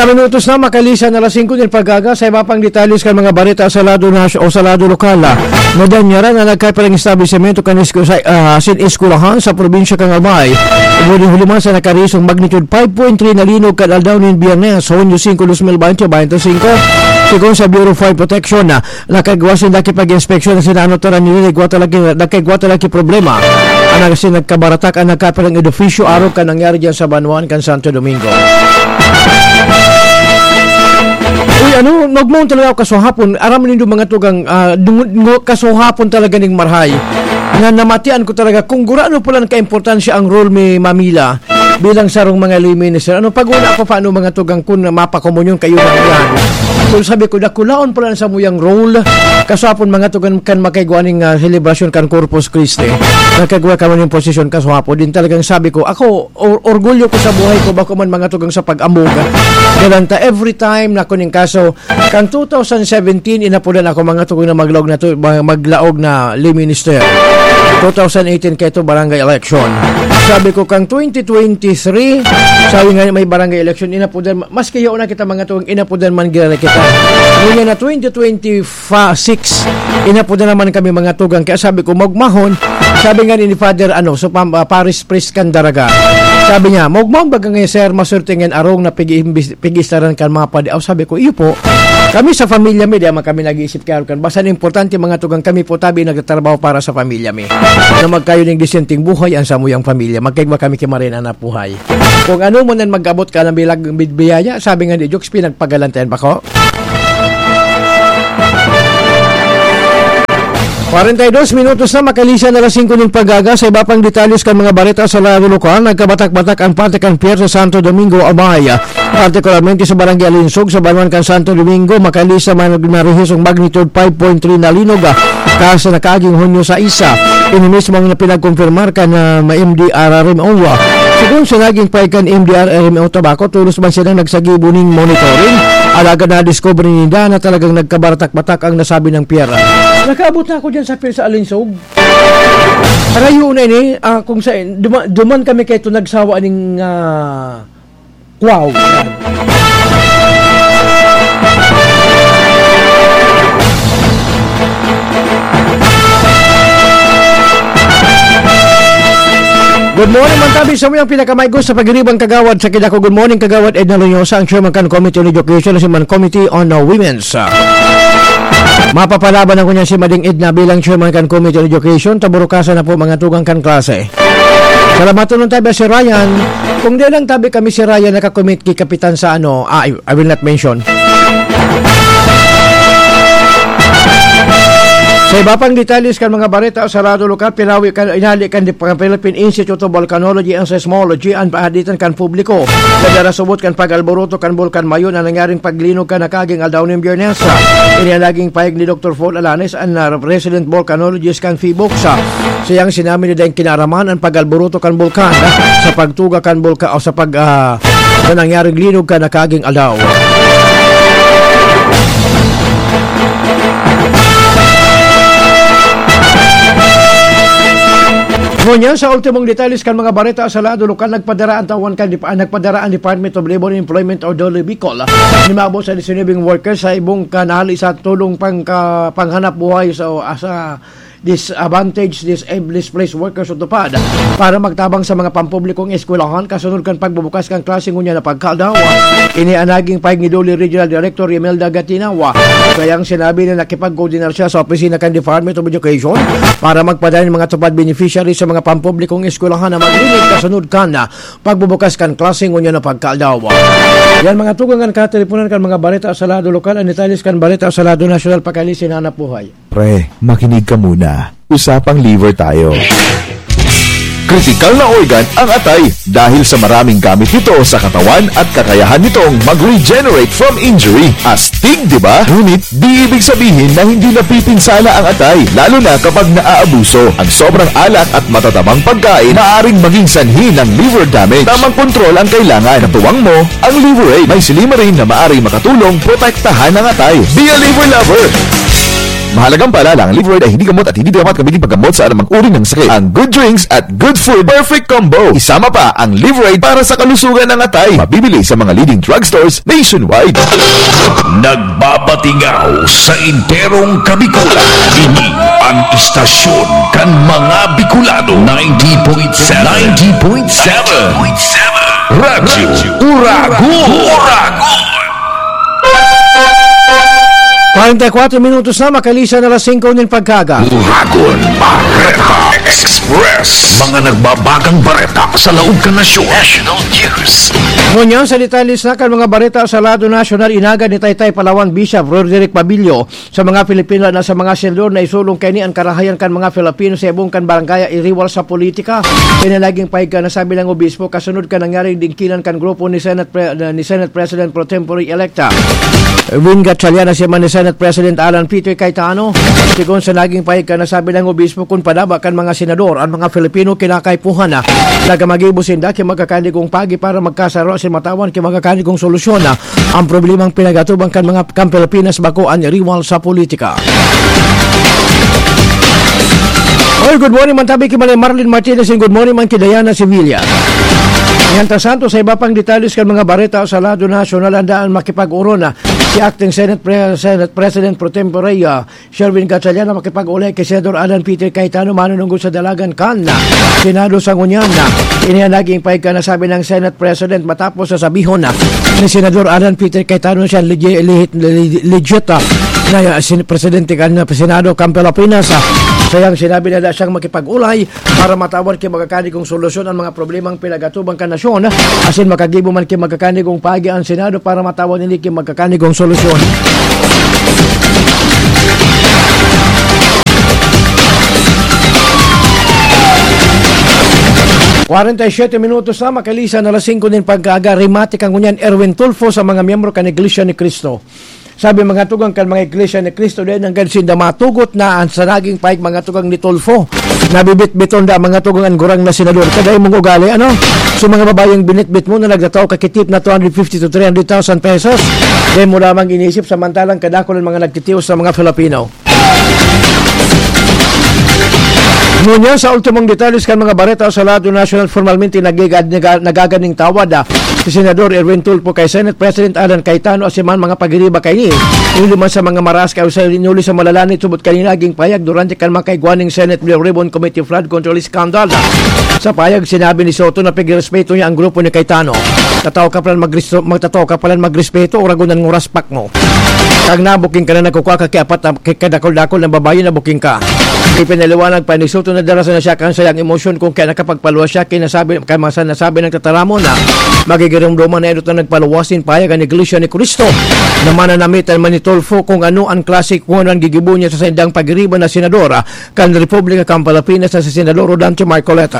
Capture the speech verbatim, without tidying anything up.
Minutos na makalisan na alas singko nin pag-aga. Sa iba pang detalles kan mga bareta sa lado na o sa lado lokal, ah, nadanyaran na nagkaparang establisimento kan esku-, sa, ah, sin eskwelahan sa probinsya kan Albay. Igwa nin huluman sa nakarisong magnitude five point three na linog kan aldaw nin Biyernes, Hunyo singko, dos mil bente, bente singko. Sigon sa Bureau of Fire Protection, ah, nakagwa sinda ki pag-inspeksyon na sinano taran nila, igwa talaga, nagkaigwa talaga ki problema. Ang nagsin nagkabaratak ang nagkaparang edifisyo arog kan nangyari diyan sa Banwan kan Santo Domingo. Uy, ano, nagmoon talaga ako kasuhapon. Aram nindo mga tugang, ah, dungo-, dungo-, kasuhapon talaga ning marhay. Na namatian ko talaga kung gurano pala ang kaimportansya ang role mi Mamila bilang sarong mga lay minister. Ano, pag wala pa paano mga tugang kun mapakomunyon kayo na yan? So, sabi ko, dakulaon pala sa muyang role. Kasuhapon mga tugang kan makaigwa ning, ah, selebrasyon kan Corpus Christi. Nagkagwa kami ng posisyon kasuhapon. Din talagang sabi ko, ako, or-, orgulyo ko sa buhay ko, bako man mga tugang sa pag-ambog. Galanta, every time na kuning kaso, kan two thousand seventeen, inapudan ako mga tugang na maglaog na to, ma-, maglaog na lay minister. Two thousand eighteen, kaito barangay election. Sabi ko, kang twenty twenty-three, sabi nga may barangay election, inapudan, maski yaon na kita mga tugang, inapudan man gira na kita. Ngunyan na twenty twenty-five, six, inapudan naman kami mga tugang. Kaya sabi ko, magmahon, sabi nga ni Father, ano, so, pam-, ah, Paris Priest kan Daraga. Sabi niya, "Maugma baga ngayon, sir, maswerte ngayon arong na pig-iimbis-, pig-istaran kan mga padi." Aw, sabi ko, "Iyo po. Kami sa pamilya mi, di man kami nag-iisip kaya kan. Basta ang importante, mga tugang, kami po tabi nagtatrabaho para sa pamilya mi. Na magkayo ning disenteng buhay ang samuyang pamilya. Magkaigwa kami ki Marina na buhay." Kung ano mo nan mag-abot ka ng bilag, bid-, biyaya, sabi nga ni Jokes, pinagpagalantayan ba ko? Kwarenta y dos minutos na makalisan na alas singko nin pag-aga. Sa iba pang detalles kan mga bareta sa lado lokal, nagkabatak-batak ang parte kan pier sa Santo Domingo, Albay. Partikularmente sa Barangay Alinsog, sa banwan kan Santo Domingo, makalisan man narehistro ang magnitude five point three na linog, ah, kasa nakaaging Hunyo sais. Ini mismo ang pinagkonfirmar kan, ah, M D R R M O. Sigon sa naging pahayag kan M D R R M O Tabaco, tolos man silang nagsagibo nin monitoring. Alagad nadiskubre ninda na talagang nagkabaratak-batak ang nasabi ng pier. Nakaabot na ako dyan sa pier sa Alinsog. Rayo na ini, ah, kung sa, duma-, duman kami kay ito nagsawa ning, ah, wow. Good morning, man tabi sa muyang pinakamaigos sa pagiribang kagawad sa Kidako. Good morning, Kagawad Edna Loñosa, ang chairman kan Committee on Education, na si man Committee on, uh, Women's. Uh, mapapalaban ako niya si Mading Edna bilang chairman kan Committee on Education. Taburukasan na po mga tugang kan klase. Salamat nun tabi si Ryan. Kung di lang tabi kami si Ryan nakakomit ki Kapitan sa ano, ah, I will not mention. Sa iba pang detalles kan mga bareta sa Radyo Lokal, pinawi kan, inali kan di-, Philippine Institute of Volcanology and Seismology an pahaditan kan publiko. Sa darasubot kan pag-alboroto kan Bulkan Mayon na nangyaring paglinog kan nakaging aldaw nin Biyernes. Ini an naging pahayag ni Doktor Paul Alanes, an, ah, resident volcanologist kan PHIVOLCS. Siyang sinabi na dahil kinaraman an pag-alboroto kan bulkan sa pagtuga kan bulka o sa pag, ah, na nangyaring linog kan nakaging aldaw. Ngunyan, sa ultimong detalles kan mga bareta sa lado lokal, nagpadara ang tawan kan Dep-, ah, nagpadara ang Department of Labor and Employment o DOLE Bicol. Nimabo sa disinubing workers sa ibong kanali sa tulong pangka-, panghanap buhay sa, ah, sa disadvantaged, dis-, displaced workers o DOLE para magtabang sa mga pampublikong eskwelahan kasunod kan pagbubukas kan klase ngunyan na pagkaaldaw. Ini ang naging pahayag ni DOLE Regional Director Imelda Gatinawa. Kayang sinabi na nakipagkoordinar siya sa opisina kan Department of Education para magpadala ng mga tupad beneficiary sa mga pampublikong eskwelahan na maglinig kasunod kan pagbubukas kan klase ngunyan na pagkaaldaw. Yan mga tugang kan kateleponan kan mga bareta sa lado lokal, ang detalles kan bareta sa lado nasyonal pakali sinanap buhay. Pre, makinig ka muna. Usapang liver tayo. Kritikal na organ ang atay dahil sa maraming gamit nito sa katawan at kakayahan nitong mag-regenerate from injury. Astig, di ba? Ngunit di ibig sabihin na hindi napipinsala ang atay, lalo na kapag naaabuso. Ang sobrang alak at matatabang pagkain maaaring maging sanhi ng liver damage. Tamang kontrol ang kailangan. Katuwang mo ang Liverade. May silymarin na maaaring makatulong protektahan ang atay. Be a liver lover! Mahalagang paalala, ang Livroid ay hindi gamot at hindi dapat gamitin paggamot sa anumang uri ng sakit. Ang good drinks at good food, perfect combo. Isama pa ang Livroid para sa kalusugan ng atay. Mabibili sa mga leading drugstores nationwide. Nagbabatingaw sa enterong Kabikulan. Ini ang istasyon kan mga Bicolano. Ninety point seven. Ninety point seven. Radyo Uragon. Uragon. Kwarenta y kuatro minutos na makalisan na alas singko nin pagkaga. Uragon Bareta Express. Mga nagbabagang bareta sa laog kan nasyon. National News. Ngunyan, sa detalye sa kan mga bareta sa lado nasyonal, inagad ni Taytay Palawan Bishop Roderick Pabillo sa mga Pilipino na sa mga senador na isulong kaini an karahayan kan mga Filipino sa ibong kan barangay iriwal sa politika. Kaya naging pahayag kan nasabing obispo kasunod kan nangyaring dingkinan kan grupo ni Senate Pre- ni Senate President Pro Tempore Electa Erwin Gatchalian na si man ni Senate President Alan Peter Cayetano. Sigon sa naging pahayag kan nasabing obispo, kun padaba kan mga senador an mga Filipino kinakaipuhan na nagamagibo sinda ki magkakanigong pagi para magkasaro asin matawan ki magkakanigong solusyon na ang problemang pinagatuban kan mga kan Pilipinas bako an riwal sa politika. Oy, good morning man tabi ki Manay Marlene Martinez, and good morning man ki Diana Sevilla. Mientras tanto, sa iba pang detalles kan mga bareta sa lado nasyonal, andaan makipag-uron na si Acting Senate Pre- Senate President Pro Tempore, ah, Sherwin Gatchalian na makipag-ulay ki Senador Alan Peter Cayetano manunungod sa dalagan kan Senado sa ngunyan. Ini an naging pahayag kan nasabing Senate President matapos na sabihon na ni Senador Alan Peter Cayetano siya legi- lehit- le- legit, ah, na, ah, sin- presidente kan Senado kan Pilipinas, ah. Sayang sinabi na da siyang makipag-ulay para matawan ki magkakanigong solusyon ang mga problemang pinagatuban kan nasyon, asin makagibo man ki magkakanigong pagi ang Senado para matawan ini ki magkakanigong solusyon. Kwarenta y siyete minutos na makalisan na alas singko nin pagkaaga, rimate kan ngunyan Erwin Tulfo sa mga miyembro kan Iglesia ni Cristo. Sabi mga tugang kan mga Iglesia ni Cristo, dai nanggad sinda matugot na an sa naging pahayag mga tugang ni Tulfo. Nabibitbiton da mga tugang an gurang na senador. Kadai mong ugali, ano? So mga babayeng binitbit mo na nagtatao ka kitip na two hundred fifty to three hundred thousand pesos, dai mo lamang inisip samantalang kadakul ang mga nagtitios sa mga Filipino. Ngunyan, sa ultimong detalles kan mga bareta sa lado nasyonal, formalmente nagigad- naga- nagaganing tawad, ah, si Senador Erwin Tulfo kay Senate President Alan Cayetano asin man mga pagiriba kaini. Huli man sa mga maras kay Jose Inuli sa Malalani, tubod kanina naging payag durante kan makaigwa ning Senate Blue Ribbon Committee flood control scandal. Sa payag, sinabi ni Soto na pigrespeto niya ang grupo ni Cayetano. Tataw ka palan magres- magtataw ka palan magrespeto, uragon an nguras pak mo. Kag nabuking ka na nagkukwa ka ki apat na ki- kadakul-dakul na babayi na buking ka. Ipinaliwanag pa ni Soto na darasa na siya kan sayang emosyon kung kaya nakapagpaluwas siya, kinasabi, kaya masa nasabi ng tataramon na magigirumduman na idot na nagpaluwas nin payag an Iglesia ni Cristo na mananamitan man ni Tulfo kung ano ang klase kung ano ang gigibo niya sa saindang pagiriba na senador, ah, kan Republika kan Pilipinas na si Senador Rodante Marcoleta.